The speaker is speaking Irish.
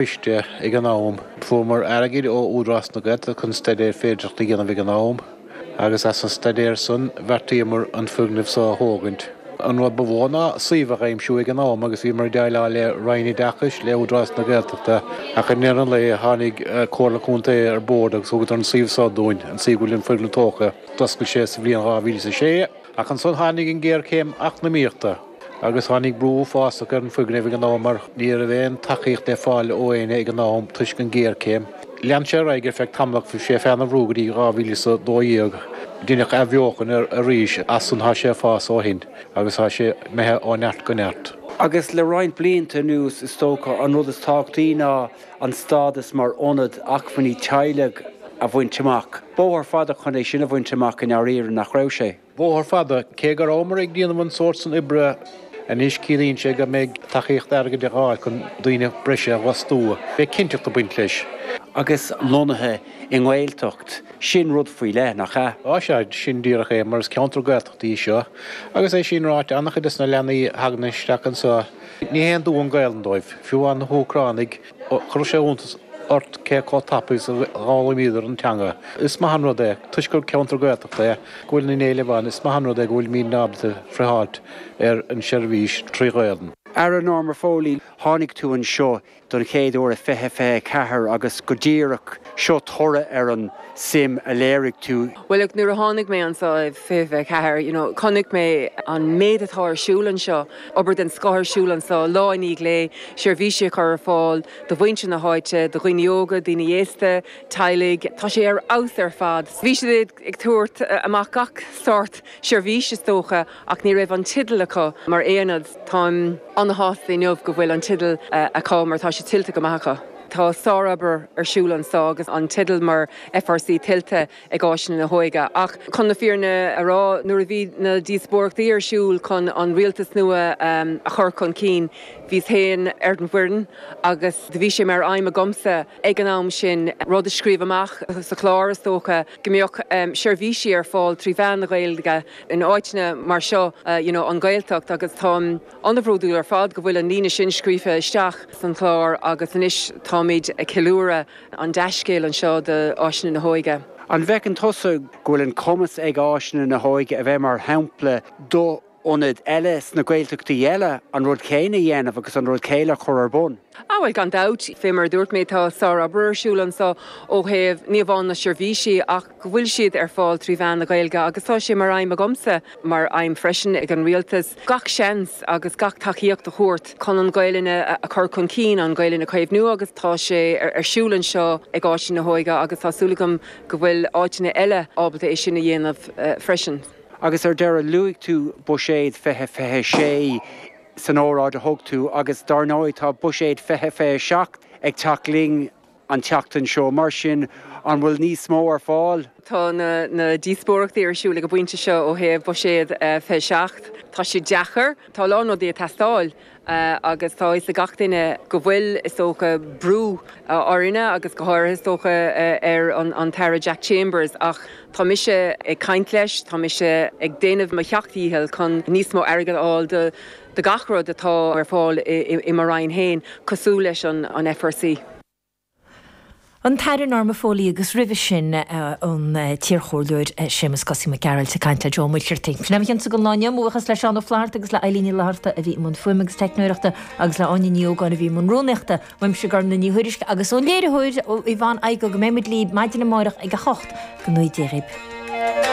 Coiste ag an am. Fuaireamar airgead ó Údarás na Gaeltachta chun staidéar féidearthachta a dhéanamh ag an am agus as an staidéar san bheartaíomar an foirgneamh so a thógaint. An rud ba mhó ná suíomh a aimsiú ag an am agus bhíomar ag déileáil le Roinn Oideachais, le Údarás na Gaeltachta ach i ndeireadh an lae tháinig Comhairle Contae ar bord agus thugadar an suíomh so dúinn, an suíomh go bhfuil an foirgneamh tógtha. D'oscail sé sa bhliain 2006. Ach ansan tháinig an ghéarchéim eacnamaíochta agus tháinig brú uafásach ar an foirgneamh ag an am mar ní raibh aon tacaíocht le fáil ó éinne ag an am toisc an ghéarchéim. Lean sé ar aghaidh ar feadh tamall ach bhí sé faoina bhrú go dtí 2012. Deineadh athbheochan air arís as san tá sé ag fás ó shin agus tá sé imithe ó neart go neart. Agus le roinnt blianta anuas is dócha an rud is tábhachtaí ná an stádas mar ionad acmhainní teaghlaigh a bhaint amach. Bóthar fada chun é sin a bhaint amach i ndáiríre, nach raibh sé? Bóthar fada, cé go rabhamar ag déanamh an sórt san oibre anois ciallaíonn sé go mbeidh tacaíocht airgid de dhíth chun daoine breise a dh'fhostú. Beidh cinnteacht ag baint leis. Agus lonnaithe i nGaeltacht, sin rud faoi leith, nach ea? Á sea, sin díreach é, mar is ceantar Gaeltachta í seo. Agus é sin ráite, an-chuid des na leanaí a thagann isteach anseo, Ní haon dua an Ghaelainn dóibh, fiú amháin na hÚcránaigh, chuirfeadh sé iontas ort cé chomh tapaidh is a dh'fhoghlaimíodar an teanga. Is maith an rud é, toisc gur ceantar Gaeltachta é, go bhfuil an éileamh ann, is maith an rud é go bhfuilimid ábalta friotháilt ar an seirbhís trí Ghaelainn. Aire Norma Foley, tháinig tú anseo don chéad uair i 2024 agus go díreach seo toradh ar an suim a léirigh tú. Bhuel look, nuair a tháinig mé anseo i 2024, you know, chonaic mé an méid atá ar siúl anseo, obair den scoth ar siúl anseo, lá i ndiaidh lae, seirbhísí a chur ar fáil do mhuintir na háite, do dhaoine óga, daoine aosta, teaghlaigh. Tá sé ar fheabhas ar fad. Bhí siad ag tabhairt amach gach sórt seirbhís is dócha ach ní raibh an teideal acu mar aonad. Táim an-shásta inniu go bhfuil an teideal acu mar tá sé tuillte go maith acu. Tá sárobair ar siúl anseo agus an teideal mar FRC tuillte ag Áiseanna na hÓige. Ach chun na fírinne a rá, nuair a bhí na díospóireachtaí ar siúl chun an rialtas nua a chur chun cinn, bhíos féin ar an bhfoireann agus do bhí sé mar aidhm agamsa ag an am sin rud a scríobh amach sa chlár is dócha go mbeadh seirbhísí ar fáil trí mheán na Gaeilge in áiteanna mar seo, you know, an Ghaeltacht agus táim an-bhródúil ar fad go bhfuil an líne sin scríofa isteach san chlár agus anois táimid ag ceiliúradh an dea-scéal anseo d'Áiseanna na hÓige. An bhfeiceann tusa go bhfuil an cumas ag Áiseanna na hÓige a bheith mar shampla do ionaid eile sna Gaeltachtaí eile an rud céanna a dhéanamh agus an rud céanna a chur ar bun? Ah bhuel gan dabht, fé mar a dúirt mé tá sárobair ar siúl anseo ó thaobh ní amháin na seirbhísí ach go bhfuil siad ar fáil trí mheán na Gaeilge agus tá sé mar aidhm agamsa, mar aidhm freisin ag an Rialtas, gach seans agus gach tacaíocht a thabhairt chun an Ghaelainn a chur chun cinn, an Ghaelainn a chaomhnú agus tá sé ar siúl anseo ag Áiseanna na hÓige agus tá súil agam go bhfuil áiteanna eile ábalta é sin a dhéanamh freisin. Agus ar deireadh, luaigh tú Buiséad 2026 san óráid a thug tú agus dár ndóigh tá Buiséad 2027 ag teacht linn an tseachtain seo. Mar sin, an bhfuil níos mó ar fáil? Tá na díospóireachtaí ar siúl ag an bpointe seo ó thaobh Buiséad 27. Tá sé deacair. Tá a lán rudaí ag teastáil. Agus tá a fhios ag gach duine go bhfuil, is dócha, brú orainne agus go háirithe, is dócha, ar an tAire Jack Chambers ach tá mise ag caint leis, tá mise ag déanamh mo sheacht dhícheall chun níos mó airgid a fháil do gach rud atá ar fáil i mo Roinn féin, cosúil leis an FRC. An tAire Norma Foley agus roimhe sin an t-iarchomhairleoir Séamus Gussie Mac Gearailt ag caint le Joe Ó Muircheartaigh. Sin é mo chionsa don lá inniu. Mo bhuíochas le Seán Ó Flatharta agus le Eilín Ní Fhlatharta a bhí i mbun fuaime agus teicneoireachta agus le Áine Ní Ógáin a bhí i mbun rúnaíochta. Uaimse Gormfhlaith Ní Thuairisg agus ón léiritheoir Yvonne Igoe go mbeidh muid libh maidin amárach ag 8 go ngnóthaí Dia dhaoibh.